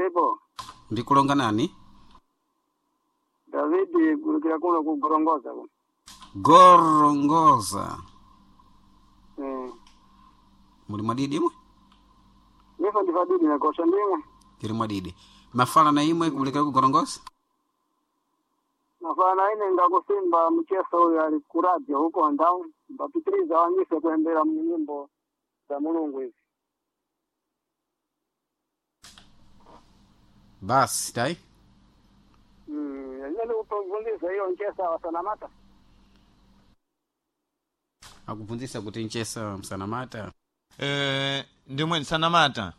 Ndiripo. Ndikulonga nani? Davidi gulukira kuno kugorongoza kuno. Gorongoza. Eh. Muli mwadidi imwe? Nifa ndifadidi nakosha ndimwe. Tiri mwadidi. Mafala na imwe kubulikira kugorongoza? Nafana ine ngakusimba mcheso uyu ali kuradio huko ndau mbapitiriza wanyise kuembera nyimbo za Mulungu hizi. Basi tai. Yeye upongeza hiyo nchesa wasanamata. Akubvunzisa kuti nchesa msanamata. Ndimwe sanamata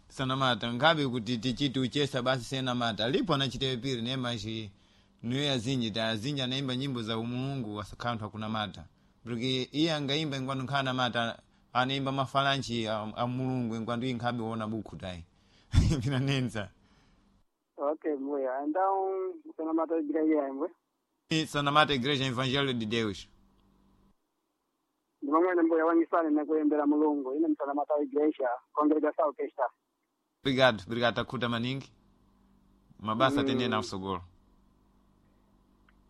sanamata nkhabe kuti tichiti uchesa basi senamata lipo anachitewe piri nemachi niyo azinji ta azinji anaimba nyimbo za umulungu wasakhala akunamata porque iye angaimba ingwanu nkhala anamata anaimba mafalanchi a mulungu ingwandu iye nkhabe wona bukhu tayi pinanenza. Okay, mbuya. Então, sanamata igreja yemwe. Sanamata Igreja Evangelho de Deus. Ndimamwene mbuya wanyisane nekuembera Mulungu. Ine msanamata igreja, congregação que está. Obrigado, obrigado, takhuta maningi mabasa atendene na usogolo.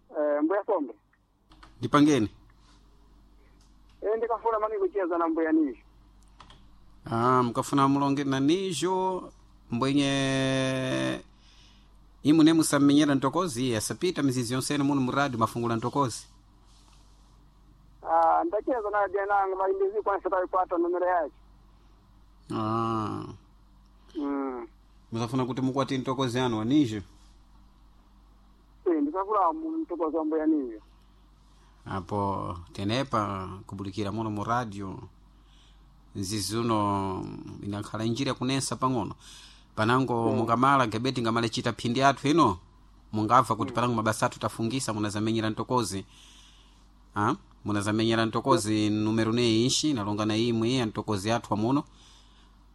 Eh, mbuya sombe. Ndipangeni. Eh, ndikafuna mani kucheza na mbuya nishi. Ah, mukafuna mulonge na nijo mbwenye imwe ne musamenyera ntokozi asapita mizizi yonsene muno muradi mafungula ntokozi. Ah, ndacheza na jenangu malimbizi kwanza taipata numero yake. Ah. Musafuna kuti mukwati ntokozi anu wanijo. Eh, ndikafuna mtokozi wa mbuya niyo. Apo tenepa kubulikira muno mu radio nzizi uno inakhala njira kunensa pang'ono panango mungamala gebeti ngamale chita phindi athu ino mungabva kuti panango mabasa athu tafungisa munazamenyera ntokozi. Ah, munazamenyera ntokozi numero ne inshi nalonga na imwe ya ntokozi athu amuno.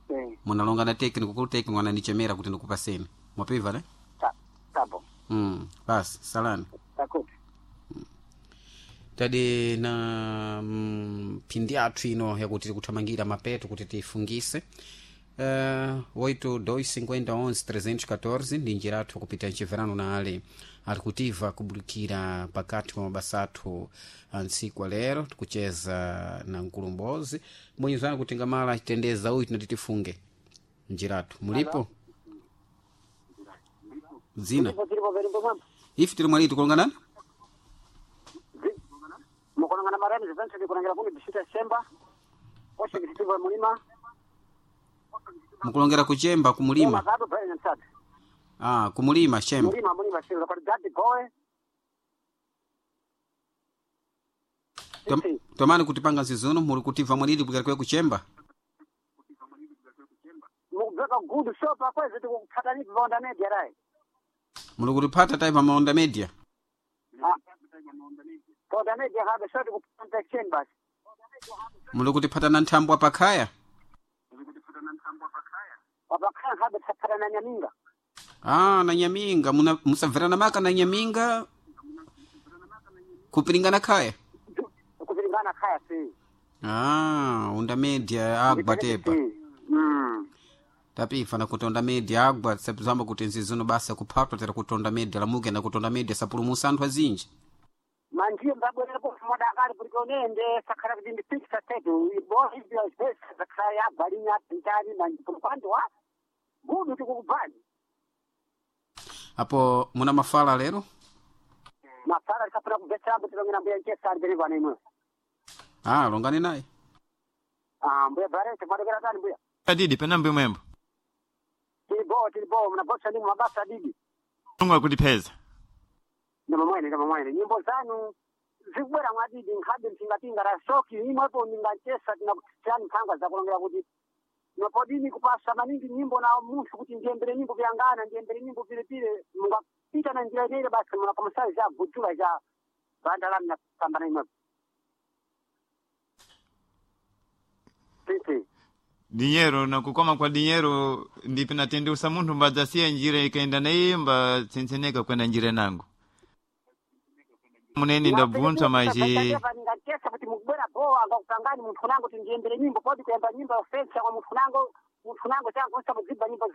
Eh, Munalonga na tekniko kulu tekniko ananichemera kuti ndikupaseni mwapiva ne. ta tabo. Basi salani. Takuti. Tadi na phindi athu ino yakuti tikuthamangira mapeto kuti tifungise 8 2 314 ndi njira athu kupita mchiverano na ale ali kutiva kubulikira pakati pa mabasa athu a ntsiku alero tikucheza na mkulumbozi mwenyezani kuti ngamala achitendeza uyu tinati tifunge njira athu mulipo dzina. Ndipo tilipo velimbo mwambo. Ife tili mwaliti kulonganani. Mukonangana marani zivense ndikunangila kuni bisita semba. Oshe kitivo mulima. Mukulongera kuchemba kumulima. Mazado pale nyamsati. Ah, kumulima chemba. Mulima mulima sio kwa dadi boy. Tomani kutipanga nzizuno muli kutiva mwalili kulikira kuchemba. Mukubeka good shop akwezi tikupata ni bonda media rai. Muli kutipata tai pa Maonda Media. Ah. Bonda media habe shot kupata chambers. Muli kutipata na nthambwa pakhaya. Wabakhala habe tapata na nyaminga. Ah, na nyaminga muna musamverana maka na nyaminga kupiringana khaya. Kupilingana khaya si. Ah, onda media agwa tepa. Tapifa na kutonda media agwa sapizamba kuti nzizuno basa kuphatwa tera kutonda media lamuke na kutonda media sapulumusa anthu azinji. Manjiye mbabwerera modakali kuti onende sakhala kuti ndi picture tetu ibo ibyo space sakhala ya balinya pitani manji wa gudu tikukubani. Apo muna mafala lero? Mafala likafuna kubvetsera kuti longera mbuya nchesa ali pene pano imwe. Ah, longani naye. Ah, mbuya barete mwadokera tani mbuya. Adidi penambe mwembo. Tilibo tilibo mnabosa ndi mabasa adidi. Mulungu akutipeza. Ndamamwene ndamamwene nyimbo zanu zikubwera mwadidi nkhabe mtingapinga la soki imwepo ndinganchesa tinakutani mphanga zakulongera kuti nopodini kupasa maningi nyimbo na munthu kuti ndiyembere nyimbo vyangana ndiyembere nyimbo pilepile mungapita na njira ineile basi munakomusayi za gujula za banda lanu napambana imwepo titi. Dinheiro nakukoma kwa dinheiro ndipo natendeusa munthu mbadzasiya njira ikaenda na iye mbatsenseneka kwenda njira nangu munene ndabvunzwa maji. Ndingachesa kuti mukubwera bowa angakupangani munthu nango kuti ndiyembere nyimbo podi kuyamba nyimbo yofensa kwa munthu nango munthu nango changu osamudzibva nyimbo.